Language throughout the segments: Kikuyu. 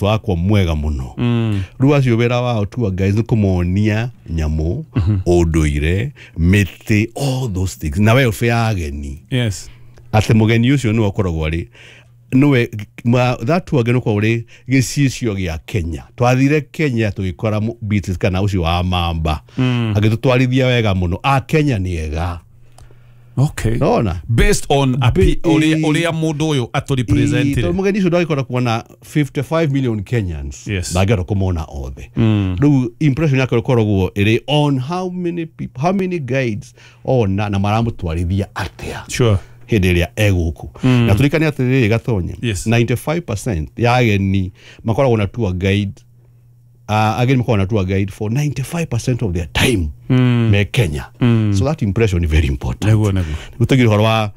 Wakwa mwega muno. Rĩu acio wĩra wao tour guides nĩ kũmonia nyamũ, ũndũire, mĩtĩ, all those things, na welfare ya ageni. Atĩ mũgeni ũcio nĩwe ũkoragwo arĩ nĩwe that tour guide ũkoragwo ũrĩ gĩcicio gĩa Kenya. Twathire Kenya tũgĩkora Beatrice kana ũcio wa Mamba agĩtũtwarithia wega mũno. A Kenya nĩ ega. Nona. Based on uria mundu uyu atũrepresentire. Tondũ mũgeni ũcio ndangĩkora kuona 55 million Kenyans. Ndangĩhota kũmona othe. Rĩu impression yake ĩkoragwo ĩrĩ on how many people, how many guides ona na maramũtwarithia atĩa hĩndĩ ĩrĩa egũkũ. Na tũririkane atĩrĩrĩ, Gatonye, 95% ya ageni makoragwo na tour guide, ageni makoragwo na tour guide for 95% of their time me Kenya. So that impression is very important. Nĩguo nĩguo. Gũtũgire ũhoro wa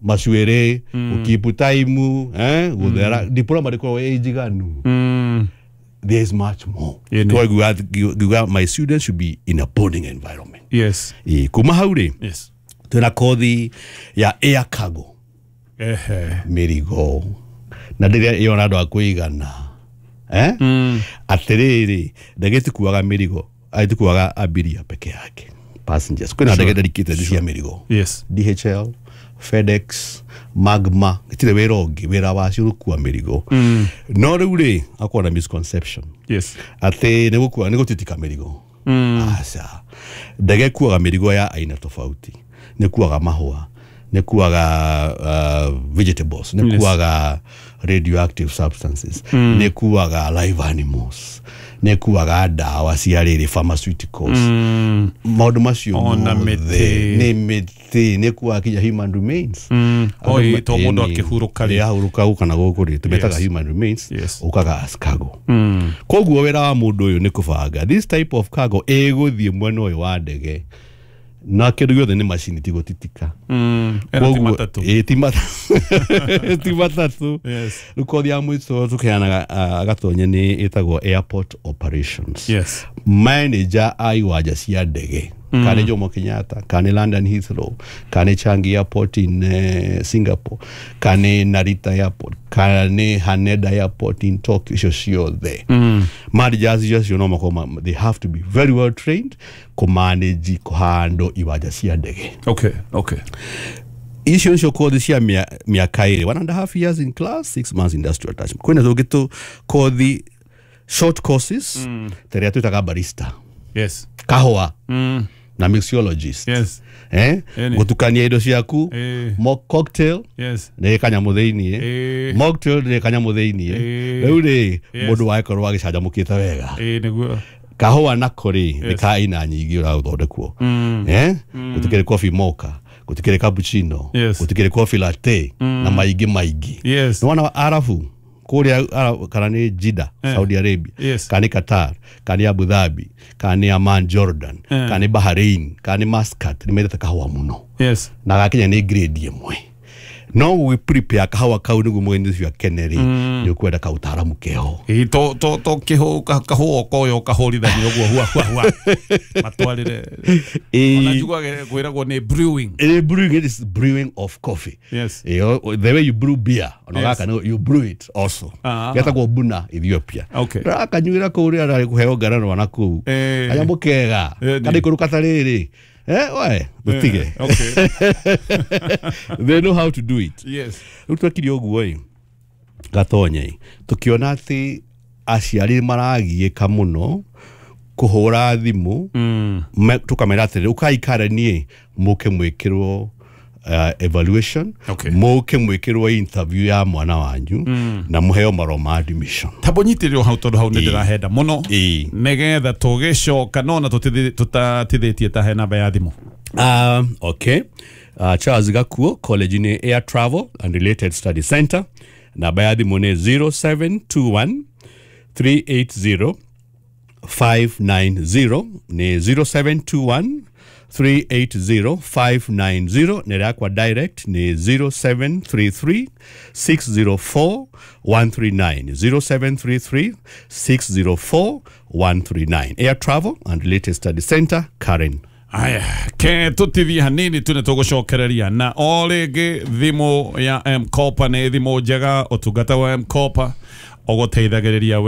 macuĩrĩ, gũkeep time, gũthera diploma ndĩkoragwo ĩ njiganu. There is much more. Twaigua ngiuga my students should be in a boarding environment. Ĩ, kuma hau rĩ, twĩna kothi ya air cargo. Mĩrigo na ndĩrĩa ĩyona andũ a kũigana, eh? Atĩrĩrĩ, ndege itikuaga mĩrigo, itikuaga abiria peke yake, passengers. Kwĩna ndege dedicated cia mĩrigo. DHL, FedEx, Magma, itirĩ wĩra ũngĩ, wĩra wacio gũkua mĩrigo. No rĩu rĩ, akorwo na misconception atĩ nĩ gũkua, nĩ gũtitika mĩrigo. Aca, ndege ĩkuaga mĩrigo ya aina tofauti. Nĩ kuaga mahũa, nĩ kuaga vegetables, nĩ kuaga radioactive substances, nĩ kuaga live animals, nĩ kuaga ndawa cia rĩrĩ, pharmaceuticals, maũndũ macio Ona mothe. Mĩtĩ. Nĩ mĩtĩ, nĩ kuaga kinya human remains. Oi, to mũndũ akĩhurũka rĩ. Ahurũka gũka na gũkũ rĩ, tũmetaga human remains. Ũkaga as cargo. Koguo wĩra wa mũndũ ũyũ nĩ kũbanga this type of cargo ĩgũthiĩ mwena ũyũ wa ndege, na kĩndũ gĩothe nĩ macini, ti gũtitika. Ĩno ti matatũ. Ĩ, ti matatũ, ti matatũ. Rĩu kothi ya mũico tũkeanaga, Gatonye, nĩ ĩtagwo airport operations. Manager a iwanja cia ndege, kana nĩ Jomo Kenyatta, kana nĩ London Heathrow, kana nĩ Changi Airport in Singapore, kana nĩ Narita Airport, kana nĩ Haneda Airport in Tokyo, icio ciothe managers icio no makorwo they have to be very well trained kũmanage, kũhandle iwanja cia ndege. Icio nicio kothi cia mĩaka 2, 1.5 years in class, 6 months industrial attachment. Kwĩna tũngĩ tũ kothi, short courses, ta ĩrĩa twĩtaga barista, kahũa na mixologist. Eh? Ĩni. Gũtukania indo ciaku. Mock cocktail nĩ kanyamũ thĩiniĩ. Mocktail nĩ kanyamũ thĩiniĩ. Rĩu rĩ, mũndũ wagĩkorwo agĩcanjamũkĩte wega. Ĩ nĩguo. Kahũa nako rĩ, nĩ ka aina nyingĩ ũrathondekwo, eh? Gũtikĩrĩ coffee mocha, gũtikĩrĩ cappuccino, gũtikĩrĩ coffee latte na maingĩ maingĩ. Nĩwona Arabu kũrĩa kana nĩ Jeddah, Saudi Arabia, kana nĩ Qatar, kana nĩ Abu Dhabi, kana nĩ Amman, Jordan, kana nĩ Bahrain, kana nĩ Muscat, nĩ mendete kahũa mũno. Na gakinya nĩ grade ĩmwe, no gũgĩ prepare kahũa kau nĩguo mũgeni ũcio akene rĩ, nĩ ũkwenda kaũtaramu keho. Ĩ, to kĩhũ kahũa koyo kahũrithania ũguo hua hua hua matwarĩre. Ona njiguaga kwĩragwo nĩ brewing. Brewing, it is brewing of coffee. The way you brew beer, ona gaka no you brew it also. Getagwo buna Ethiopia. Rakanyuĩra kũu rĩrĩa ararĩ kũheo ngaranwa na kũu. Kanyamũ kega. Kana ikũrũka ta rĩrĩ. Eh, we, tũtige. They know how to do it. Rĩu twekire ũguo ĩ, Gatonye ĩ, tũkĩona atĩ aciari maragiĩka mũno kũhũra thimũ. Tũkamera atĩrĩrĩ, ũkai Karen mũke mwĩkĩrwo evaluation, mũke mwĩkĩrwo interview ya mwana wanyu na mũheo marũa ma admission. Tambo nyitĩrĩrwo hau tondũ hau nĩ ndĩrahenda mũno, nĩgetha tũgĩcoka nona tũtatithĩtie ta he namba ya thimũ. Okay. Charles Gakuo, College in Air Travel and Related Study Center. Namba ya thimũ nĩ 0721 380 590, nĩ 0721 380 590. Nĩ yakwa direct nĩ 0733 604 139, 0733 604 139. Air Travel and Related Study Center, Karen. Aya, ke tũtithie hanini tu nĩ tũgũcokereria na o rĩngĩ. Thimũ ya M-Kopa nĩ thimũ njega, ũtungata wa M-Kopa. Ũgũteithagĩrĩria we.